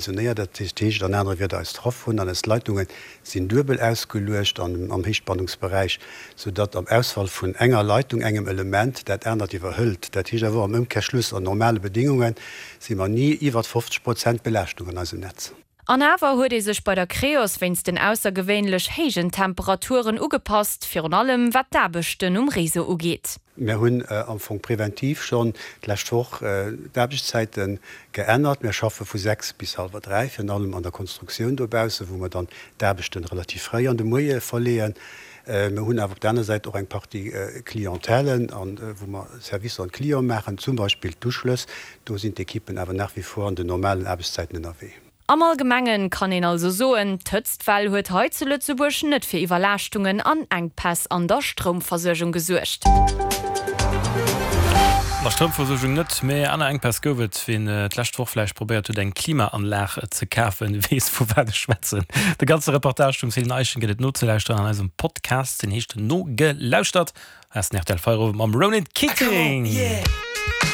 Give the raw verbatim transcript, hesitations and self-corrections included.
Funktionéiert. Dat heescht an anere Wierder, eis Trafoen an eis Leitunge sinn duebel ausgeluecht an am Héichspannungsberäich, soudatt am Ausfall vun enger Leitung, engem Element, dat anert iwwerhëlt. Dat heescht awer och am Ëmkehrschluss, an normale Bedéngunge si mer ni iwwert fofzeg Prozent Belaaschtung an eisem Netz. An awer huet ee sech bei der Creos wéinst den aussergewéinlech héijen Temperaturen ugepasst, virun allem wat d'Aarbechten um Réseau ugeet. Mir hunn am Fong preventiv schonn d'lescht Woch d'Aarbechtszäite geännert. Mir schaffe vu sechs bis hallwer dräi, virun allem an der Konstruktioun dobaussen, wou mer dann d'Aarbechte relativ fréi an de Moie verleeën. Mir hunn awer op der aner Säit och eng Partie Clientèlen, wou mer Servicer un d'Clienten maachen, zum Beispill d'Uschlëss. Do sinn d'Ekippen awer nach wie vor an den normalen Aarbechtszäiten ënnerwee. Am Allgemengen kann een also soen, d'Hëtztwell huet hei zu Lëtzebuerg net fir Iwwerlaaschtungen an Enkpäss an der Stroumversuergung gesuergt. An der Stroumversuergung net, mä aner Enkpäss gouf et. Wien d'lescht Woch vläicht probéiert huet eng Klimaanlag ze kafen, weess vu wat ech schwätzen. De ganze Reportage vum Céline Eischen gëtt et nozelauschteren an eisem Podcast, deen heescht Nogelauschtert. Hei ass den rtl Feierowend mam Ronan Keating.